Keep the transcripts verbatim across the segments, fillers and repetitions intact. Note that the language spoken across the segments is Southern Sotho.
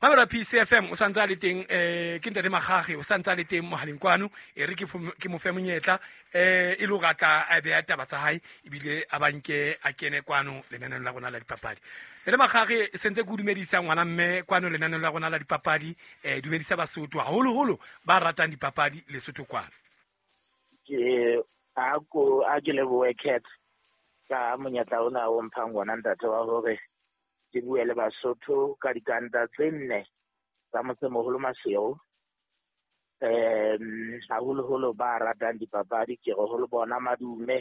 Mamela P C F M o santse a le teng eh ke ntate Makgakge o santse a le teng mohaleng kwano e re ke ke mo fe monyetla eh e le hore a tla a beha taba tsa hae ebile a banke a kene kwano lenaneong la rona la dipapadi. Ntate Makgakge sentse ke o dumedisa ngwana mme kwano lenaneong la rona la dipapadi eh dumedisa Basotho haholoholo ba ratang dipapadi Lesotho kwano. Ke a ko a ke lebohe Cat ka monyetla ona o mphang wona ntate wa hore ke bue le Basotho ka dikanta tse nne tsa motsemoholo Maseru. Um haholoholo ba ratang dipapadi ke re ho le bona madume.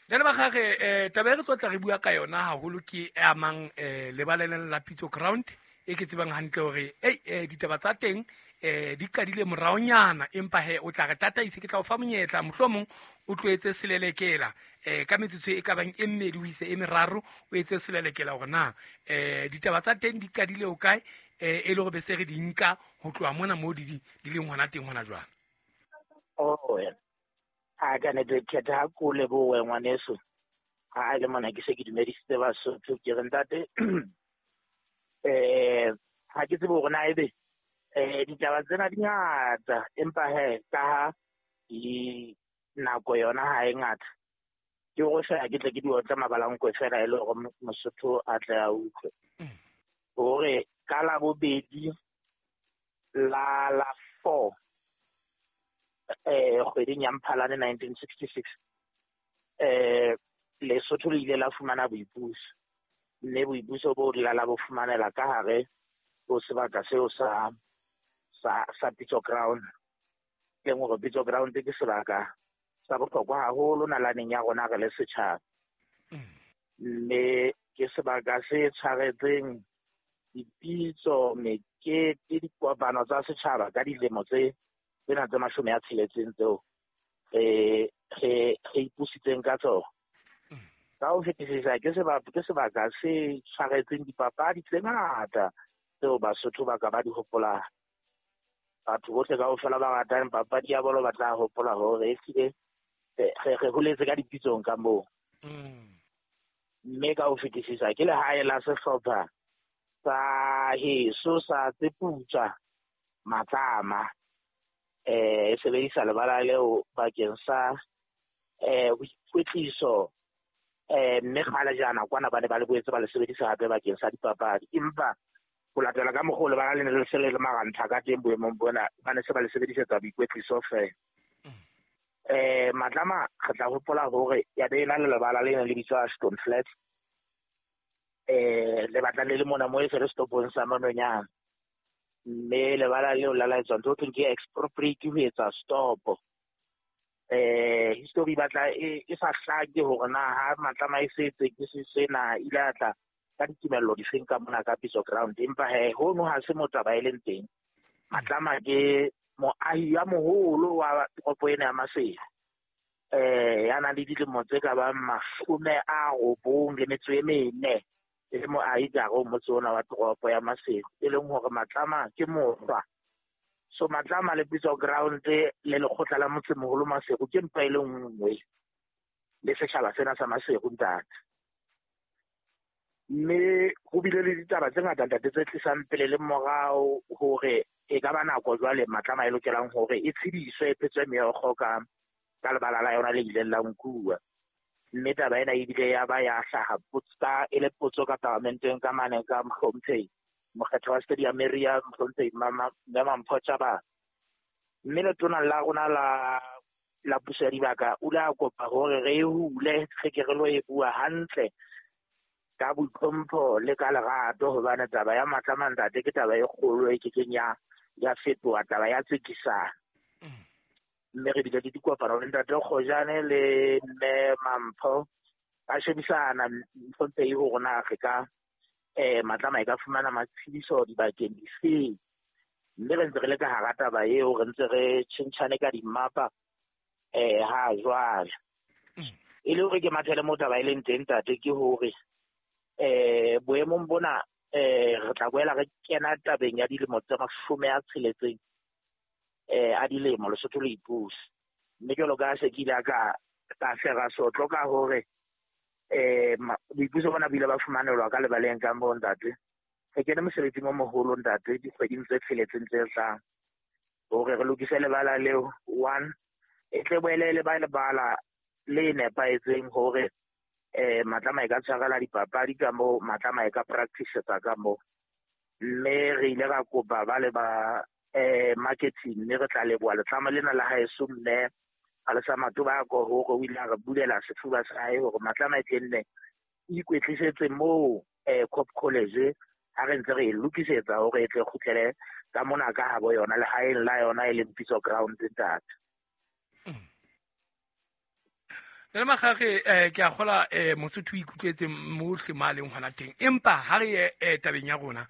Ntate Makgakge eh taba e re tlo tla re bua ka yona haholo ke e amang eh lebaleng la Pitso Ground e ke tsebang hantle hore ei eh ditaba tsa teng eh di qadile moraonyana empa he o tla re tataise ke tla o fa monyetla mohlomong o tloetse selelekela eh ka metsotso e ka bang e mmedi ho ise e meraro o etse selelekela hore na eh ditaba tsa teng di qadile o kae eh e le hore be se re di nka ho tloha mona mo di di leng hona teng hona jwang. Oh a ka ne ke khetha ha ko lebohe ngwaneso ha le mona ke se ke dumedisitse Basotho ke re ntate eh ha ke tsebe hore na ebe eh ditaba tsena di ngata empa he ka ha di nako yona ha e ngata ke go fela ke tle ke di otla mabalankwe fela e le hore Mosotho a tle a utlwe hore ka la bobedi la la four eh kgweding ya Mphalane nineteen sixty-six eh Lesotho le ile la fumana boipuso mme boipuso bo la la bo fumanela ka hare ho sebaka seo sa sa sa Pitso Ground. Leng hore Pitso Ground ke sebaka sa bohlokwa haholo nalaneng ya rona re le setjhaba. Mme ke sebaka se tshwaretseng dipitso, mekete, dikopano tsa setjhaba ka dilemo tse tsena tse mashome a tsheletseng tseo re re re ipusitseng ka tsona. Ka ho fetisisa ke sebaka ke sebaka se tshwaretseng dipapadi tse ngata tseo Basotho ba ka ba di hopolang. Batho bohle kaofela ba ratang papadi ya bolo ba tla hopola hore ehlile re re holetse ka dipitsong ka moo. Mme ka ho fetisisa ke lehae la sehlopha sa heso sa tse putswa Matlama eh e sebedisa lebala leo bakeng sa eh boikwetliso eh mme kgale jana kwana ba ne ba le boetse ba le sebedisa hape bakeng sa dipapadi empa ho latela ka mokgwa o lebala le ne le se le le marantha ka teng boemong bona ba ne se ba le sebedisetsa boikwetliso fela. Eh Matlama re tla hopola hore ya be ena le lebala le ne le bitswa Stone Flat eh le batla le le mona mo e se re stopong sa Manonyana mme lebala leo la laetswa ntho thweng ke expropriate ho etsa stop. Eh history batla e e sa hlake hore na ha Matlama e setse ke se sena ile a tla ka ditumello di feng ka mona ka Pitso Ground empa he hono ha se motaba e leng teng. Matlama ke moahi ya moholo wa toropo ena ya Maseru eh ya nang le dilemo tse ka bang mashome a robong le metso e mene e le moahi ka hare ho motse ona wa toropo ya Maseru e leng hore Matlama ke mohlwa. So Matlama le Pitso Ground le lekgotla la motsemoholo Maseru ke mpa e le nngwe le setjhaba sena sa Maseru ntate. Mme ho bile le ditaba tse ngata ntate tse tlisang pele le morao hore e ka ba nako jwale Matlama e lokelang hore e tshediswe e phetswe meokgo ka ka lebala la yona le ileng la nkuwa. Mme taba ena ebile ya ba ya hlaha potsa e le potso ka parlamenteng ka mane ka mohlomphehi mokgetho wa Stadium Area mohlomphehi Mama Mampho Tjabane. Mme letona la rona la la puso ya dibaka o ile a kopa hore re e hule re ke re lo e bua hantle ka boitlhompho le ka lerato hobane taba ya Matlama ntate ke taba e kgolo e kekeng ya ya fetoha taba ya tsekisano. Mme re bile le dikopano le ntate Kgojane le mme Mampho ba shebisana mohlomphehi hore na re ka eh Matlama e ka fumana matshediso dibakeng difeng. Mme re ntse re le ka hara taba eo re ntse re tjhentjhane ka dimmapa eh ha jwale. E le hore ke mathele mo taba e leng teng ntate ke hore eh boemong bona eh re tla boela re kena tabeng ya dilemo tse mashome a tsheletseng eh a dilemo Lesotho le ipusa. Mme jwalo ka se ke ile ka ka fera sotlo ka hore eh boipuso bona bo ile ba fumanelwa ka lebaleng ka moo ntate. Re kene mosebetsing o moholo ntate dikgweding tse tsheletseng tse tlang hore re lokise lebala leo. One, e tle boele le ba lebala le nepahetseng hore eh Matlama e ka tshwarela dipapadi ka moo, Matlama e ka practice-etsa ka moo. Mme re ile ra kopa ba le ba eh marketing, mme re tla leboha letlama lena la haeso mme Alesa Matobako hore o ile a re bulela sefuba sa hae hore Matlama e tle nne e ikwetlisetse moo eh Cop College ha re ntse re e lokisetsa hore e tle kgutlele ka mona ka habo yona lehaeng la yona e leng Pitso Ground ntate. Le Makgakge eh ke a kgola eh Mosotho o ikutlwetse mohle ma leng hona teng, empa ha re ye eh, tabeng ya rona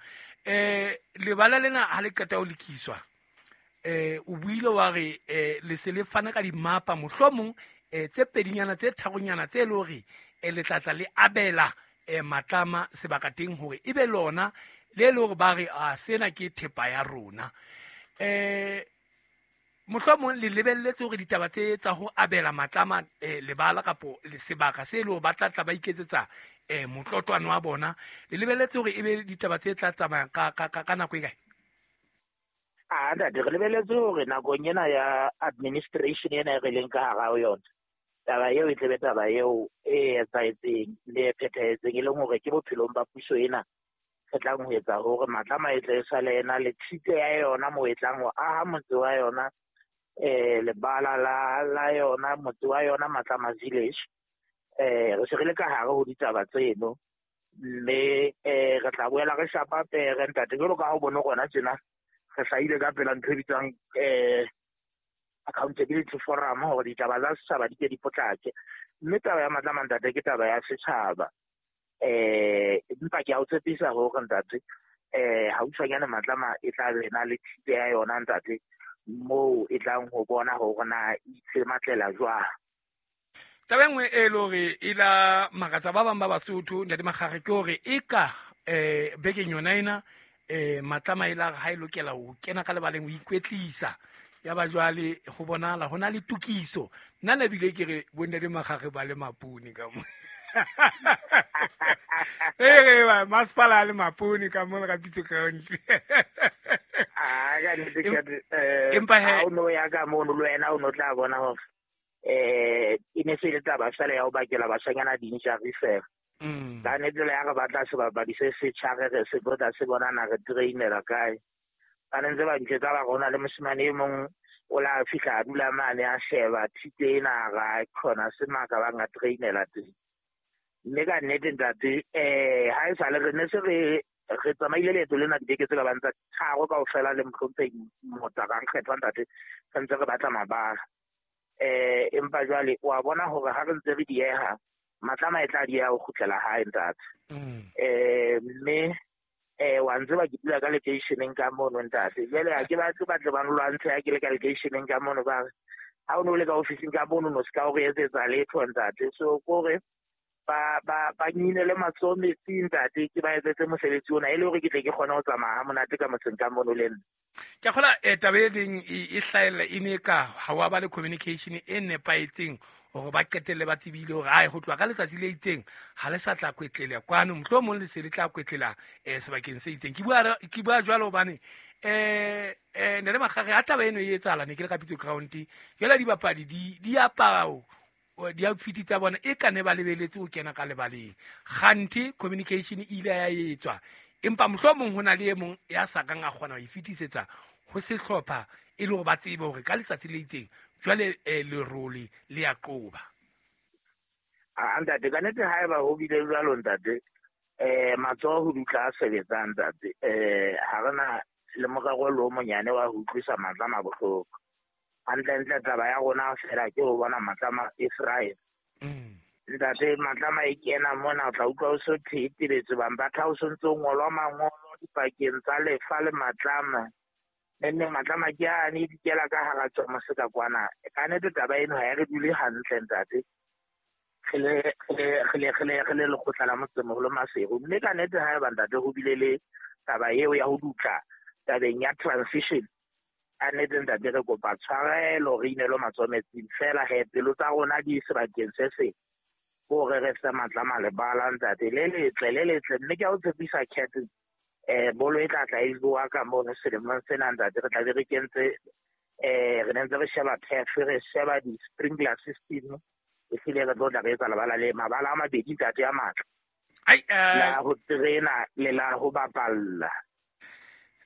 eh lebala lena ha le qeta ho lokiswa eh o buile wa re eh le se le fana ka dimapa mohlomong eh tse pedinyana tse tharonyana tse le hore eh le tlatla le abela eh Matlama sebaka teng hore ebe lona le le hore ba re a sena ke thepa ya rona. Eh mohlomong le lebelletse hore ditaba tse tsa ho abela Matlama eh, lebala kapo le sebaka se le hore ba tla tla ba iketsetsa eh motlotlwane wa bona, le lebelletse hore ebe ditaba tse tla tsamaya ka ka ka nako e kae? A ntate, re lebelletse hore nakong ena ya administration ena e re leng ka hara ho yona, taba eo e tlebe taba eo e etsahetseng le e phethahetseng, e leng hore ke bophelong ba puso ena re tlang ho etsa hore Matlama e tle e sale ena le tshite ya yona moo e tlang ho aha motse wa yona eh lebala la la yona motse wa yona Matlama Village. Eh re se re le ka hare ho ditaba tseno, mme eh re tla boela re shapa pere ntate jwalo ka ha o bone rona tjena re hlahile ka pela ntho e bitswang eh accountability forum hore ditaba tsa setjhaba di ke di potlake. Mme taba ya Matlama ntate ke taba ya setjhaba. Eh empa ke a o tshepisa hore ntate eh haufinyane Matlama e tla be na le tshite ya yona ntate moo e tlang ho bona hore na itsematlela jwang. Taba e nngwe e le hore e la makatsa ba bang ba Basotho ntate Makgakge ke hore e ka eh bekeng yona ena eh Matlama e la ha e lokela ho kena ka lebaleng ho ikwetlisa ya ba jwale ho bonahala ho na le tokiso. Nna ne bile ke re bo ntate Makgakge ba le mapone ka mo. Eh ba masepala le mapone ka mo ka Pitso Ground. Ah ka nnete ke eh Empa he ha o no ya ka mono le wena o no tla bona hore eh e ne se le taba fela ya ho bakela bashanyana di-injury fela. Mm. Ka nnete le ya re batla sebapadi se setjha re re se botla se bona na re trainela kae. Ba ne ntse ba ntjwetsa ba rona le moshemane e mong o la fihla a dula mane a sheba thite ena ra khona se maka ba nga trainela teng. Mme ka nnete ntate eh ha e sale re ne se re re tsamaile leeto lena dibeke tse ka bang tsa tharo kaofela le mohlomphehi Motaka Nkgethwa ntate re ntse re batla mabala. Eh empa jwale wa bona hore ha re ntse re dieha Matlama e tla dieha ho kgutlela hae ntate. Mm. Eh mme eh wa ntse ba ke dula ka lekeisheneng ka mono ntate. Jwale ha ke batle ba tle ba nlwantshe ha ke le ka lekeisheneng ka mono ba re ha o no le ka ofising ka mono no se ka o re etsetsa letho ntate. So kore ba ba ba nyinele matsoho metsing ntate ke ba etsetse mosebetsi ona e le hore ke tle ke kgone ho tsamaya ha monate ka motseng ka mono le nna. Ke a kgola eh taba e leng e hlahella e ne ka ha wa ba le communication e nepahetseng hore ba qetelle ba tsebile hore ai ho tloha ka letsatsi le itseng ha le sa tla kwetlela kwano mohlomong le se le tla kwetlela eh sebakeng se itseng. Ke bua ke bua jwalo hobane eh eh ntate Makgakge ha taba eno e etsahala ne ke le ka Pitso Ground jwale dibapadi di di apara di-outfit tsa bona e ka ne ba lebeletse ho kena ka lebaleng. Kganthe communication e ile ya etswa empa mohlomong ho na le e mong ya sa kang a kgona ho e fetisetsa ho sehlopha e le hore ba tsebe hore ka letsatsi le itseng jwale eh, lerole le ya qoba. A ntate ka nnete haeba ho bile jwalo ntate eh matsoho ho dutla a sebetsang ntate eh ha re na le morero le o monyane wa ho utlwisa Matlama bohloko. Hantlentle taba ya rona fela ke ho bona Matlama e thrive. Mm. Ntate Matlama e kena mona o tla utlwa o so thetebetse bang ba tha o so ntso ngolwa mangolo dipakeng tsa lefa le Matlama. Nne Matlama ke ane di kela ka hara tsona se ka kwana. Ka nnete taba eno ha e re dule hantle ntate. Re le re le re le re le lekgotla la motsemoholo Maseru. Mme ka nnete haeba ntate ho bile le taba eo ya ho dutla tabeng ya transition a nnete ntate re kopa tshwarelo re inelwe matsoho metsing fela he pelo tsa rona di sebakeng se seng hore re se Matlama lebala ntate le letle le letle. Mme ke a o tshepisa Cat Eh bolo e tla tla e bua ka mono selemong sena ntate re tla be re kentse eh re ntse re sheba turf re sheba di-sprinkler system e hlile re tlo tla re etsa lebala le mabala a mabedi ntate a matla ai eh la ho terena le la ho bapalla.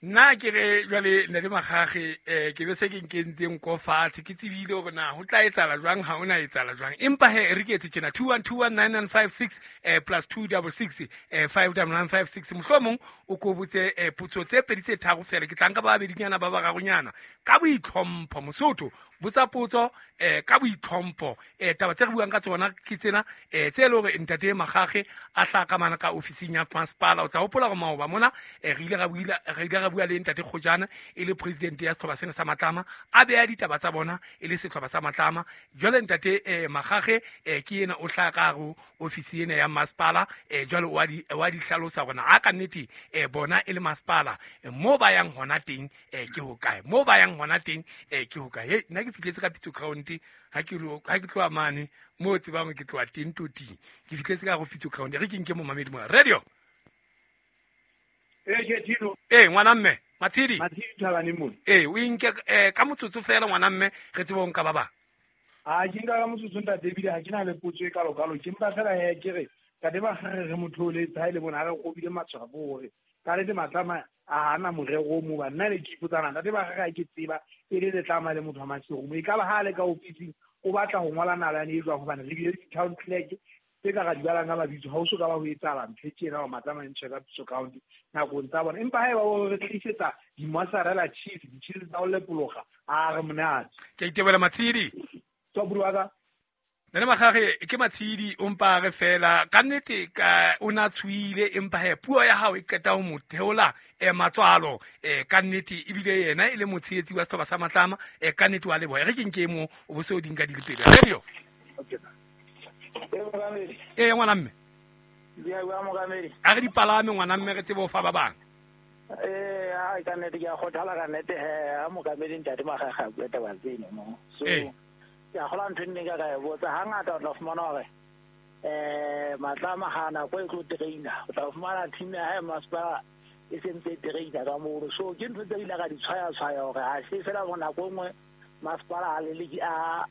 Nna ke re jwale ntate Makgakge eh ke be se ke nkentseng ko fatshe ke tsebile hore na ho tla etsahala jwang ha hona etsahala jwang empa he re ke etse tjena two one two one nine nine five six eh plus two double six eh five double nine five six mohlomong o ko botse eh potso tse pedi tse tharo fela ke tla nka ba babedinyana ba bararonyana ka boitlhompho Mosotho botsa potso eh ka boitlhompho eh taba tse re buang ka tsona ke tsena eh tse le hore ntate Makgakge a hla ka mana ka ofising ya masepala o tla hopola hore maoba mona eh re ile ra buile re ile ra bua le ntate Kgojana e le president ya setlhopha sena sa Matlama a beha ditaba tsa bona e le setlhopha sa Matlama jwale ntate eh Makgakge eh ke yena o hlaka ka hare ofisi ena ya masepala eh jwale wa di wa di hlalosa hore na a ka nnete eh bona e le masepala mo ba yang hona teng eh ke ho kae mo ba yang hona teng eh ke ho kae. Hey nna ke fihletse ka Pitso Ground ha ke ha ke tloha mane mo tsebang ke tloha teng toting ke fihletse ka go Pitso Ground re ke nke mo mamedi mo radio. Eh ke Tino eh ngwana mme Matshidi Matshidi Thabane mona eh o inke eh ka motsotso fela ngwana mme re tsebe o nka ba bang a ke nka ka motsotso ntate ebile ha ke na le potso e kalo kalo ke mpa fela he ke re ntate Makgakge re motho o le ha ile bona ha re kgobile matshwafo hore ka le Matlama a hana morero o mo ba nna le ke ipotsana ntate Makgakge ha ke tseba e le Letlama le motho wa Maseru e ka ba ha le ka ofising o batla ho ngola nalane e jwang hobane re bile di-town clerk tse ka ra di balang ka mabitso ha o so ka ba ho etsahala ntho e tjena hore Matlama e ntshwe ka Pitso Ground nakong tsa bona empa haeba o re tlisetsa di-mozzarella cheese di-cheese tsa ho lepologa a re monate. Ke itebohela Matshidi tswa buru wa ka. Ntate Makgakge ke Matshidi o mpa re fela ka nnete ka o na tshuile empa he puo ya hao e qeta ho mo theola eh matswalo eh ka nnete ebile yena e le motshehetsi wa setlhopha sa Matlama eh ka nnete wa leboha re ke nke mo o bo se o di nka di le pedi radio. Eh ngwana mme a re dipalame ngwana mme re tsebe ho fa ba bang. Eh ha ka nnete ke a kgothala ka nnete he ha mokamedi ntate Makgakge a bua taba tseno mo so ke a kgola ntho e nne ka ka e botsa hangata o tla fumana hore eh Matlama ha nako e tlo traina o tla fumana team ya hae masepala e sentse e traina ka mono so ke ntho tse ile ka di tshwaya tshwaya hore ha se fela hore nako e nngwe masepala a leleki a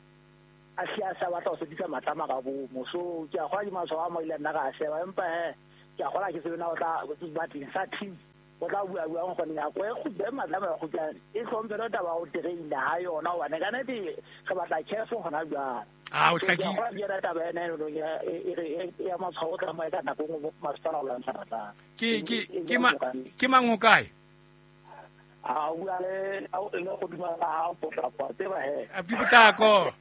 a hle a sa batla ho sebedisa Matlama ka bomo so ke a kgola ke matshwao a mo ile nna ka a sheba empa he ke a kgola ke se bena o tla batleng sa team o tla bua buang gone nako e kgutla Matlama ya kgutla e tlhompele taba ya ho traina ha yona hobane ka nnete re batla careful hona jwale. Ah o hlakile ke yona taba ena e e ya matshwao o tsamaya ka nako nngwe masepala o lwantsha Matlama. Ke ke ke ma ke mang ho kae? A bua le le go dumela ha potlako tseba he Abdi Potlako.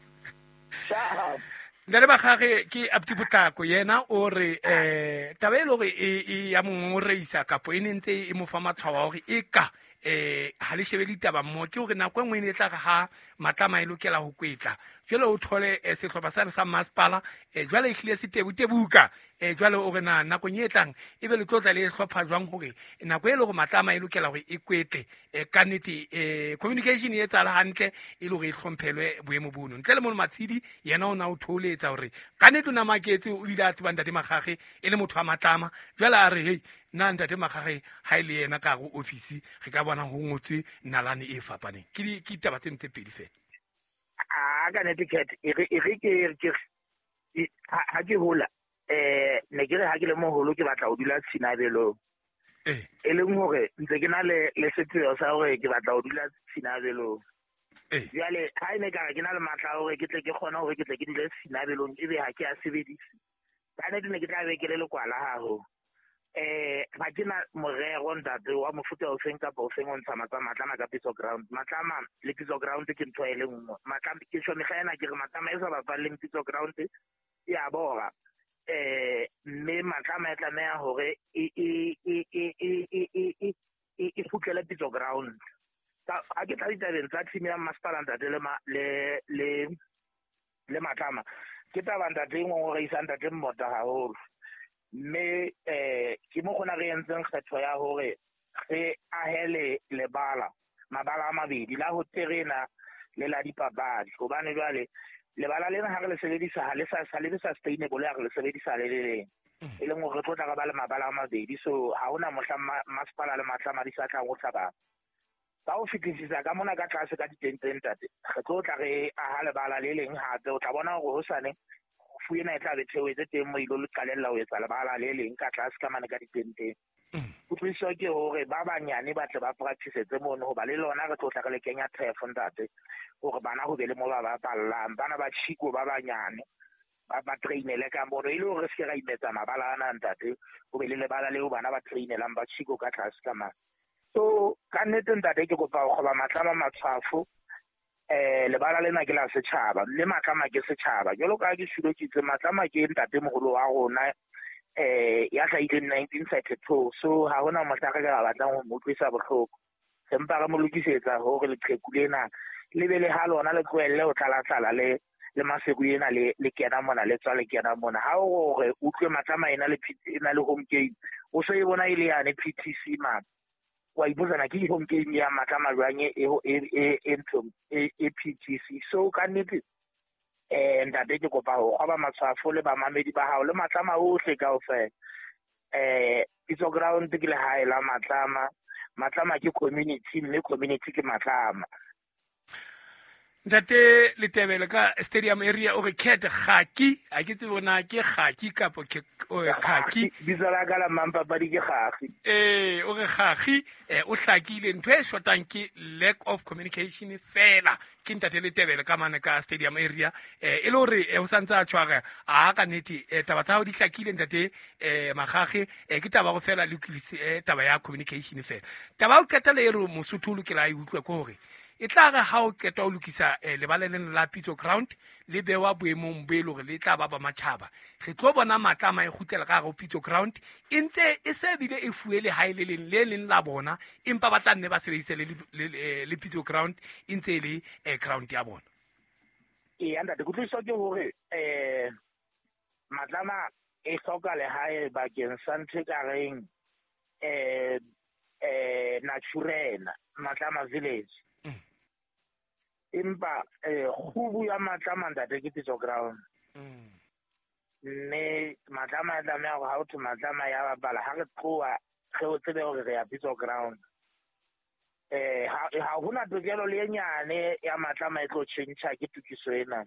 Ntate Makgakge ke Abdi Potlako yena o re eh taba e le hore e ya mongoreisa kapo e ne ntse e mo fa matshwao a hore e ka eh ha le shebe ditaba mmoho ke hore nako e nngwe e ne e tla re ha Matlama e lokela ho kwetla jwale o thole sehlopha sane sa masepala jwale e hlile se tebutebuka eh jwale o re na nakong e tlang e be le tlotla le hlopha jwang hore nako e le hore Matlama e lokela hore e kwetle ka nnete eh communication e etsahala hantle e le hore e hlomphelwe boemo bono ntle le mono Matshidi yena o na o tholetsa hore ka nnete o na maketse o ile a tseba ntate Makgakge e le motho wa Matlama jwale a re hey nna ntate Makgakge ha ile yena ka go office re ka bona ho ngotswe nalane e fapaneng ke ke ditaba tse ntse pedi fela. A ka nnete cat e re e re ke ke ha ke hola eh ne ke re ha ke le moholo ke batla ho dula Tshinabelong eh e leng hore ntse ke na le le sepheo sa hore ke batla ho dula Tshinabelong eh jwale ha ene ka re ke na le matla hore ke tle ke kgone hore ke tle ke dule Tshinabelong ebe ha ke a sebedise ka nnete ne ke tla be ke le lekwala haholo. Eh ha ke na morero ntate wa mofuta o feng kapa o feng o ntsha Matlama ka Pitso Ground. Matlama le Pitso Ground ke ntho e le nngwe. Matlama ke tjho mehla ena ke re Matlama e sa bapalleng Pitso Ground ya bora. Eh mme Matlama e tlameha hore e e e e e e e e kgutlele Pitso Ground. Ha ke tla ditabeng tsa team ya masepala ntate le le le le Matlama ke taba ntate e nngwe re isang ntate Mmota haholo. Mme eh ke mo gona re entseng kgetho ya hore re ahele lebala mabala a mabedi la ho terena le la dipapadi hobane jwale lebala lena ha re le sebedisa ha le sa sa le sustainable ha re le sebedisa le le leng. E leng hore re tlo tla re ba le mabala a mabedi, so ha hona mohla masepala le Matlama di sa tlang ho hlabana. Ka ho fetisisa ka mona ka tlase ka ditenteng ntate, re tlo tla re aha lebala le leng hape. O tla bona hore hosane fu ena e tla be theohetse teng mo ilo le qalella ho etsa lebala le leng ka tlase ka mane ka ditenteng. Kutlwisiso ke hore ba banyane ba tle ba practice-etse mono, hoba le lona re tlo tla re le kenya turf ntate, hore bana ho be le mo ba bapallang. Bana ba Chico ba banyane ba ba trainele ka mono, e le hore re se ke ra imetsa mabala ana ntate, ho be le lebala leo bana ba trainelang ba Chico ka tlase ka mane. So ka nnete ntate ke kopa ho kgoba Matlama matshwafo. Eh lebala lena ke la setjhaba, mme Matlama ke setjhaba. Jwalo ka ha ke shilo ke itse, Matlama ke ntatemoholo wa rona eh ya hlahileng nineteen thirty-two. So ha hona mohla re ka batlang ho mo utlwisa bohloko. Re mpa re mo lokisetsa hore leqheku lena le be le ha lona le tlohelle ho tlala-tlala le le Maseru ena le le kena mona le tswa le kena mona. Ha o re utlwe Matlama ena le ena le home game, o so e bona e le yane P T C man. Wa ipotsana ke home game ya Matlama jwang e e e e ntho e e P T C. So ka nnete eh ntate ke kopa ho kgoba matshwafo le bamamedi ba hao le Matlama ohle kaofela. Eh Pitso Ground ke lehae la Matlama. Matlama ke community, mme community ke Matlama. Ntate Letebele ka stadium area o re cat gaki, a ke tsebe na ke gaki kapo ke khaki. Bitso la ka la mampapadi ke gagi. Eh o re gagi, eh o hlakile ntho e shotang ke lack of communication fela. Ke ntate Letebele ka mane ka stadium area, eh e le hore o santse a tshwara a ka nnete taba tsa hao di hlakile ntate eh Magage, eh ke taba go fela le lokise taba ya communication fela. Taba o qetela e re Mosotho o lokela a e utlwe ke hore e tla re ha o qeta ho lokisa lebala lena la Pitso Ground le bewa boemong bo e le hore le tla ba ba matjhaba, re tlo bona Matlama e kgutlela ka hare ho Pitso Ground e ntse e se bile e fuwe lehae le leng le leng la bona, empa ba tla nne ba sebedise le le Pitso Ground e ntse e le ground ya bona. Ee ntate, kutlwisiso ke hore eh Matlama e hloka lehae bakeng sa ntho e ka reng eh eh Naturena, Matlama Village. Empa eh kgubu ya Matlama ntate ke Pitso Ground. Mme Matlama e tlameha hore ha ho thwe Matlama ya bapala, ha re tloha re o tsebe hore re ya Pitso Ground. Eh ha hona tokelo le e nyane ya Matlama e tlo tjhentjha ke tokiso ena.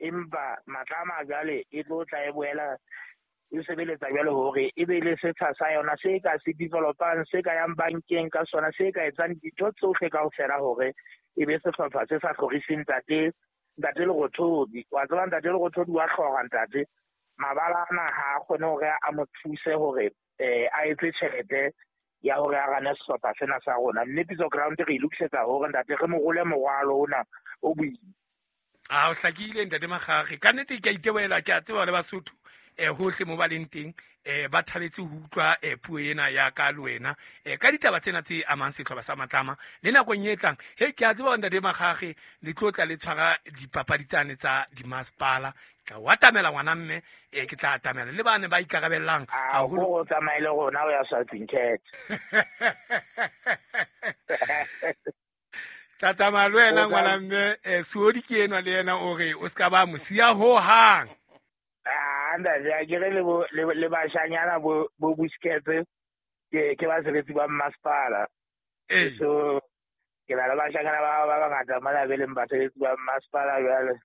Empa Matlama jwale e tlo tla e boela e sebeletsa jwale hore e be le setsha sa yona se ka se developang, se ka yang bankeng ka sona, se ka etsang dintho tsohle kaofela hore e be sehlopha se sa hloriseng ntate ntate Lerothodi. Wa tseba ntate Lerothodi wa hloka ntate, mabala ana ha a kgone hore a mo thuse hore eh a etse tjhelete ya hore a rane sehlopha sena sa rona. Mme Pitso Ground re e lokisetsa hore ntate re mo role morwalo ona o boima. A o hlakile ntate Magage, ka nnete ke a itebohela, ke a tseba le Basotho eh hohle mo ba leng teng eh ba thabetse ho utlwa eh puo ena ya ka le wena eh ka ditaba tsena tse amang sehlopha sa Matlama le nakong e tlang. He ke a tseba ntate Magage le tlo tla le tshwara dipapadi tsane tsa dimasepala, ke tla o atamela ngwana mme eh ke tla atamela le bane ba ikarabellang haholo. O tsamaile rona o ya Southern Cat. Tla tsamaya le wena ngwana mme eh Suodi ke enwa le yena o re o ska ba mosiya ho hang. Ah ntate, a ke re le bo le bashanyana bo bo Busquets ke ke basebetsi ba masepala. So ke na le bashanyana ba ba bangata mona be leng basebetsi ba masepala jwale.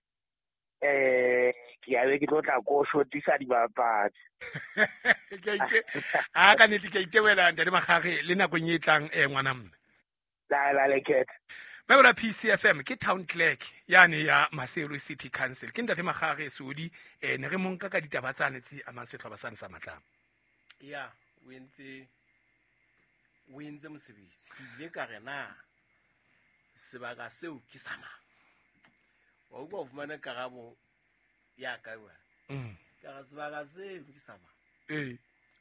Eh ke a be ke tlo tla ko shotisa dibapadi. Ke ite a ka nnete ke itewela ntate Magage le nakong e tlang eh ngwana mme. La la le ket. Mebra P C F M ke town clerk yane ya Maseru City Council. Ke ntate Magage Sodi eh ne re monka ka ditaba tsane tse amang sehlopha sane sa Matlama. Ya, o entse o entse mosebetsi. Ke ile ka re na sebaka seo ke sa mang. Wa utlwa o fumana karabo ya ka wena. Mm. Ka re sebaka seo ke sa mang. Eh.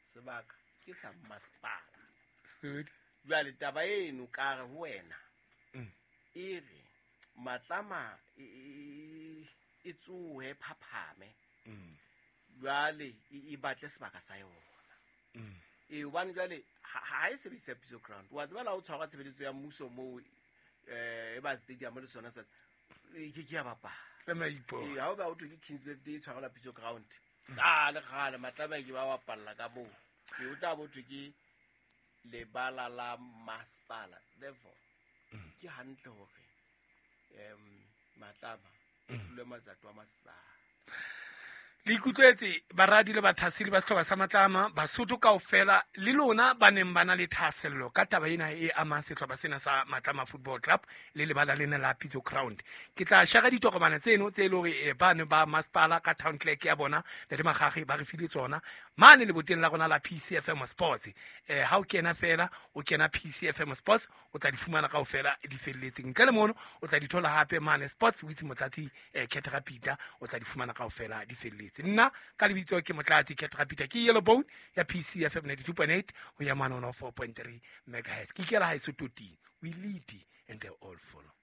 Sebaka ke sa masepala. Sodi. Jwale taba eno ka re ho wena. Mm. E re Matlama e e tsohe phaphame. Mm. Jwale e batle sebaka sa yona. Mm. E hobane jwale ha e sebedisa Pitso Ground. Wa tseba la o tshwara tshebeletso ya mmuso moo eh e ba stadium le sona sa e ke ke ya bapala. Tlameha ipo. E ha o ba o thwe ke Kings Birthday e tshwarelwa Pitso Ground. Kgale kgale Matlama ke ba bapalla ka moo. Ke o tla bo thwe ke lebala la masepala. Therefore ke hantle hore um Matlama e tlole matsatsi a masala. Le ikutlwetse baradi le bathaseli ba sehlopha sa Matlama, Basotho kaofela le lona ba neng ba na le thahasello ka taba ena e amang sehlopha sena sa Matlama Football Club le lebala lena la Pitso Ground. Ke tla share ditokomane tseno tse e le hore eh, ba ne ba masepala ka town clerk ya bona le Makgakge ba re file tsona mane leboteng la rona la P C F M Sports. Eh, ha o kena fela o kena P C F M Sports o tla di fumana kaofela di felletseng. Ntle le mono o tla di thola hape mane Sports with Motlatsi eh, Ketra Peter o tla di fumana kaofela di felletse. Nna ka lebitso ke Motlatsi Ketra Peter ke Yellow Bone ya P C F M ninety-two point eight ho ya mane one oh four point three megahertz. Ke ikela haeso toting. We lead and they all follow.